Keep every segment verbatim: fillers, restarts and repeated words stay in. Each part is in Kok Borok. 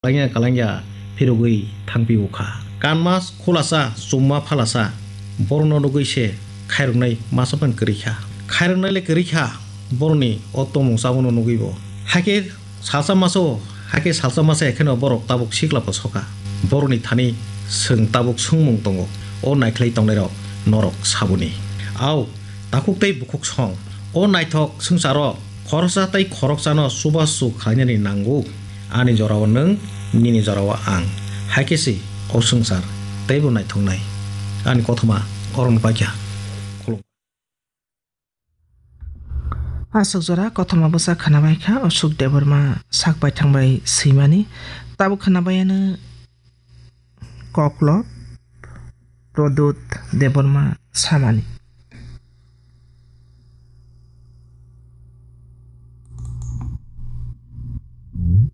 Kalangya kalangya phirogwi thangpio kha. Kanma khulasa, chumma phalasa, borokno nugwi se khairoknai masa phano kwrwi kha. Khairoknai le kwrwi kha, borokni o tongmung chabono nugwibo. Hakhe salsa maso, hakhe salsa masa ekheno borok tabuk sikla bo soka. Borokni thani chwng tabuk swngmung tongo, o naikhlai tongnairok norok saboni. Au, takhuk tei bukhuk song. O naithok swngcharo khoroksa tei khoroksano chubachu khlainani nango. Ani jorao nwng, nini jorao ang. Hai khe se o swngchar teibo naithoknai. Ani kothoma orono paikha. Khulum. Aswk jora kothoma bwsa khwnabaikha Ashok Debbarma sak baithang bai swimani. Tabuk khwnabaiano Koklo Prodot Debbarma samani.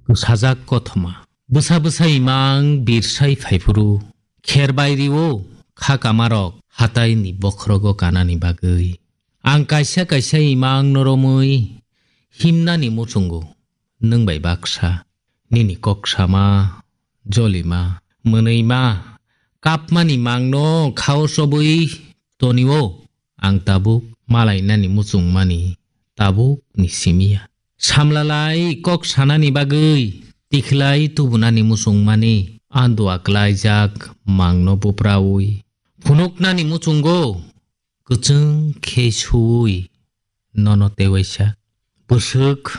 Kwsajak kothoma. Bwsa bwsa imang birsai phaiphuru. Kher bai rio kha kamarok hatai ni bokhrogo kanani bagwi. Ang kaisa kaisa imang no romwi himnani muchungo. Nwng bai baksa, nini kok sama, jolima, mwnwima, kapmani mangno khao chobwi tonio, ang tabuk malainani muchungmani tabuk ni simiya. Samlalai kok sanani bagwi, tikhlai tubunani muchungmani, andua klaijak mangno buprawi phunuknani muchungo, kwchwng khe suwi nono tewaisa. Bwswk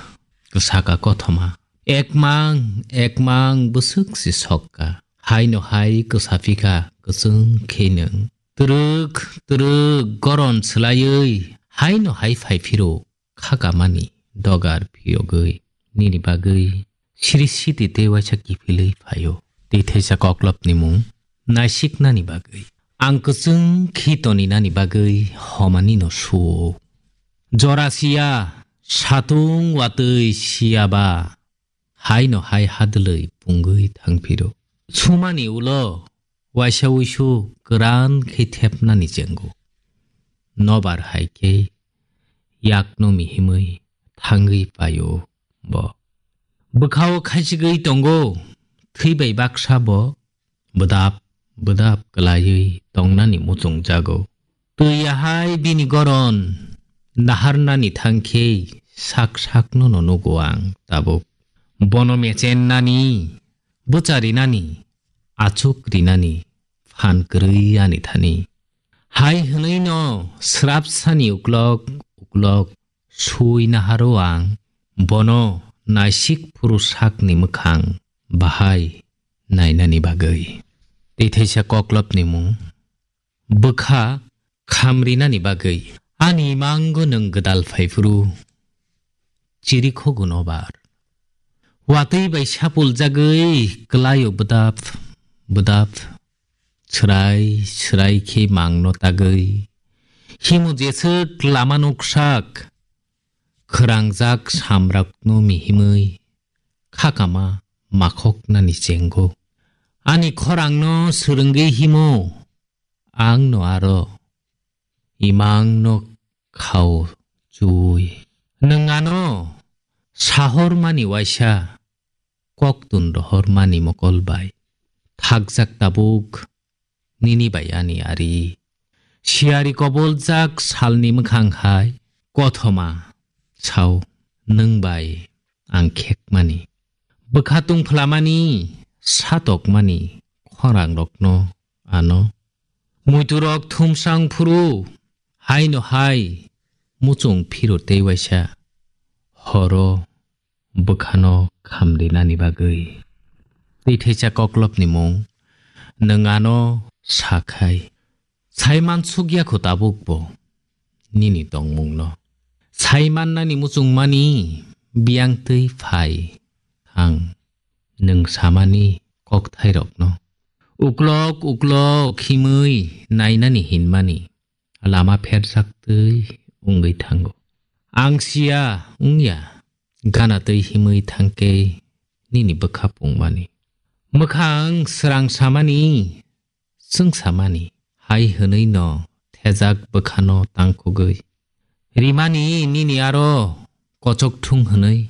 kwsaka kothoma. Ekmang, ekmang bwswk se sokka. Haino hai kwsaphikha kwchwng khe nwng. Twrwk, twrwk goron swlaiwi haino hai phaiphiro khakamani dogar phiyogwi nini bagwi siri siti tei waisa kiphilwi phaio. Tei theisa koklopni mung naisiknani bagwi. Ang kwchwng khi toninani bagwi homani no suo. Jora siya, satung watwi siya ba, haino hai hadwlwi pungwi thangphiro. Sumani ulo waisa uisu kwran khe thepnani chengo. Nobar hai khe yakno mihimwi thangwi paio bo. Bwkhao khaichigwi tongo, thwi bai baksa bo bwdap bwdap kwlaiwi tongnani muchungjago. Twi ahai bini goron naharnani thangkhe sak sakno no nugo ang tabuk. Bono mechennani, bwcharinani, achuk rinani phan kwrwi ani thani. Hai hwnwi no srapsani uklok uklok sui naharo ang bono naisik phuru sakni mwkhang bahai nainani bagwi. Tei theisa koklopni mung bwkha khamrinani bagwi. Ani mango nwng gwdal phaiphuru chirikhogo nobar. Watwi bai sapuljagwi kwlaio bwdap bwdap, swrai swrai khe mangno tagwi. Himu jeswk lama nuksak, khwrangjak samrakno mihimwi khakama makhoknani chengo. Ani khorangno swrwngwi himo, angno aro imangno khao chuwi. Nwng ano sahormani waisa koktun rohormani mokol bai. Thakjak tabuk nini bai ani ari. Siyari koboljak salni mwkhang hai kothoma sao nwng bai ang khekmani. Bwkha tungphlamani, satokmani khorangrokno ano. Muiturok thumsang phuru haino hai muchung phiro tei waisa horo bwkhano khamrinani bagwi. Tei theisa koklopni mung nwng ano sakhai. Saiman sukya kho tabukbo nini tongmungno. Saimannani muchungmani biyang twi phai thang nwng samani kokthairokno. Uklok uklok himwi nainani hinmani lama pherjak twi wngwi thango. Ang siya wngya gana twi himwi thangkhe nini bwkha pungmani. Mwkhang srang samani, chwng samani, hai hwnwi no thejak bwkhano tangkugwi. Rimani nini aro kochok thung hwnwi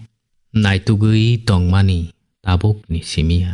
naitugwi tongmani tabukni simiya.